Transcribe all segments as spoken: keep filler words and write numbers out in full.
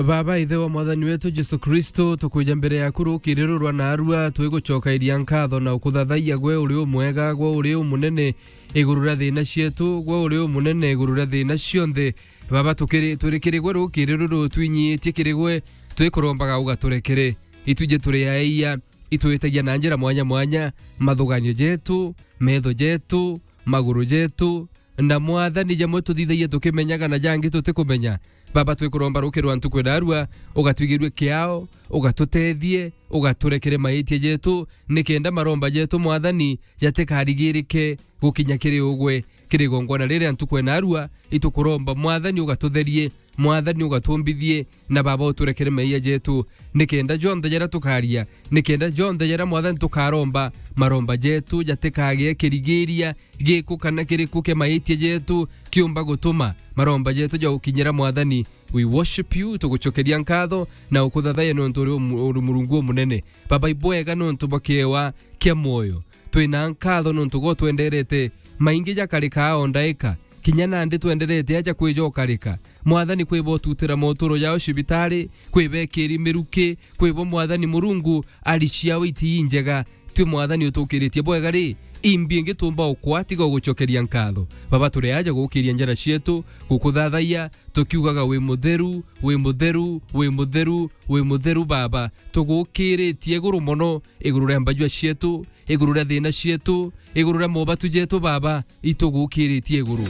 Baba, Ithe wa Mwathani wetu Jesu Kristo, tukwija mbere yaku rukiri ruru rwa narua, twigucokairia nkatho na ukuthathaiya gwe uri umwega, gwe uri umunene iguru ria thiina cietu, gwe uri umunene iguru ria thiina cionthe. Baba, tukiri, turi kiri gwe rukiri ruru, twinyiitie kiri gwe, twikurombaga ugaturekere. Itwiji turi aia, itwitagia na njira mwanya mwanya, mathuganio jetu, metho jetu, maguru jetu, na Mwathani, jamwe tuthithagia tukimenyaga na jangi tutikumenya. Baba, twikuromba rukiri rwa ntuku ya narua, ugatwigirue kiao, ugatutethie, ugaturekere maitia jetu, nikenda maromba jetu, Mwathani, jatikarigirike gukinya kiri ugwe. Kiri igongwana riri rwa ntuku ya narua, itukuromba, Mwathani, ugatutherie, Mwathani, ugatumbithie, na Baba, uturekere meeyia jetu, nikenda jonthe jaria tukaria, nikenda jonthe jaria, Mwathani, tukaromba, maromba jetu jatikagee kirigiria giku kana kiriku kia maitia jetu kiumba gutuma maromba jetu ja gukinyira, Mwathani. We worship you, tugucokeria nkatho na ukuthathaiya niuntu uri umu-, uri Murungu umunene. Baba, ibwega niuntu bwa kiewa kia mwoyo. Twina nkatho niuntu gwe utwenderete. Maingi jakarikaa o ndaika. Kinya nandi twenderete aja kwija ukarika. Mwathani, kwi bo ututira moturo jao cibitari, kwi bekiri miruki, kwi bo, Mwathani Murungu, ari ciao iti injega. Twi, Mwathani, utukiritie bwega ri, imbi ingi tumba ukwa tiga ugucokeria nkatho. Baba, turi aja gukiria njara cietu, gukuthathaiya, tukiugaga, wi mutheru, wi mutheru, wi mutheru, wi mutheru, Baba. Tugukiritie iguru mono, iguru ria mbajua cietu, iguru ria thiina cietu, iguru ria mobatu jetu, Baba, itugukiritie iguru.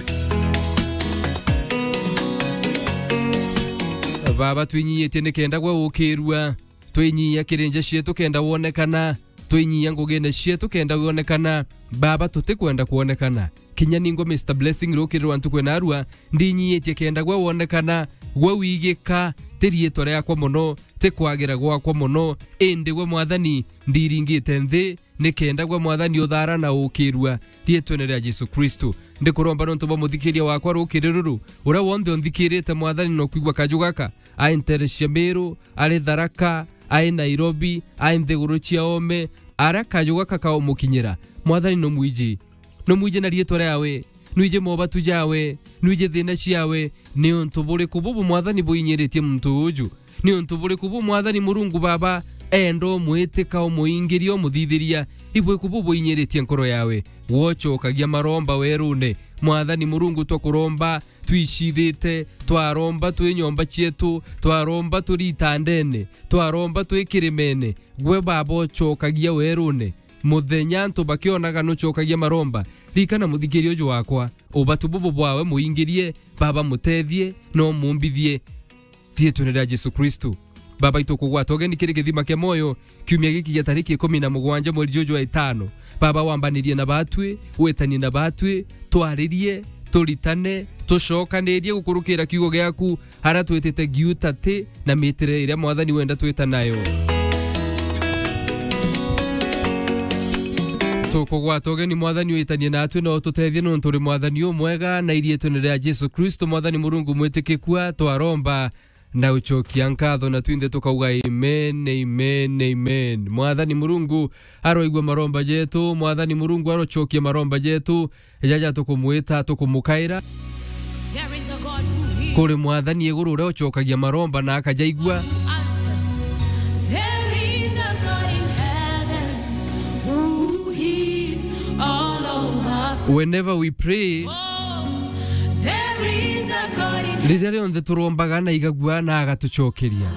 Baba, twinyiitie nikenda gwe ukirua, twinyia kiri nja cietu kenda wonekana, twinyia ngugine cietu kenda wonekana, Baba, tutikwenda kwonekana. Kinya ningwa Mister Blessing rukiri rwa ntuku ya narua, ndinyiitie kenda gwe wonekana, gwe wigika, ti riitwa riakwa mono, ti kwagira gwakwa mono, indi gwe, Mwathani, ndiringite nthi, nikenda gwe, Mwathani, uthaara na ukirua riitwene ria Jesu Kristo. Ndikuromba niuntu bwa muthikiria wakwa rukiri ruru, uria wonthe unthikirite, Mwathani, na ukwigua kaju gaka, ai ntere cia Miru, ari Tharaka, ai Nairobi, ai nthiguru cia oome, aria kaju gaka kaumukinyira. Mwathani, numwiji. Numwiji na riitwa riawe, nwiji mobatu jawe, nwiji thiina ciawe. Niuntu buriku bubu, Mwathani, buinyiritie muntu uju? Niuntu buriku bu, Mwathani Murungu Baba, enda umwitika, umuingiria, umuthithiria? Ibwiku bu buinyiritie nkoro yawe? Gwe ucokagia maromba werune. Mwathani Murungu, twakuromba twicithite, twaromba twi nyomba cietu, twaromba turi itandene, twaromba twi kirimene, gwe Baba ucokagia werune. Muthenya antu bakionaga nucokagia maromba, ririkana muthikiria uju wakwa, ubatu bubu bwawe muingirie, Baba, mutethie na umumbithie. Riitwene ria Jesu Kristo. Baba, itukugwata ugeni kiri kithima kia mwoyo, kiumia giki gia tariki ikumi na mugwanja mweri juju wa itano. Baba, wambanirie na batwi, witanie na batwi, twaririe, turitane, tucokanirie gukurukira kiugo giaku, aria twitite giuta ti na mitire iria, Mwathani, wenda twita nayo. Tukugwata ugeni, Mwathani, witanie natwi na ututethie, niuntu uri Mwathani umwega, na iriitwene ria Jesu Kristo, Mwathani Murungu mwitikikua, twaromba na ucokia nkatho, na twinthe tukauga, amen, amen, amen. Mwathani Murungu aroigua maromba jetu, Mwathani Murungu arocokia maromba jetu, jaja tukumwita, tukumukaira. There is a God who hears. Kuri Mwathani iguru uria ucokagia maromba na akajaigua. Who answers. There is a God in heaven who hears all our prayers. Whenever we pray, oh, there is a God in heaven. Riria rionthe turombaga na igagua na agatucokeria.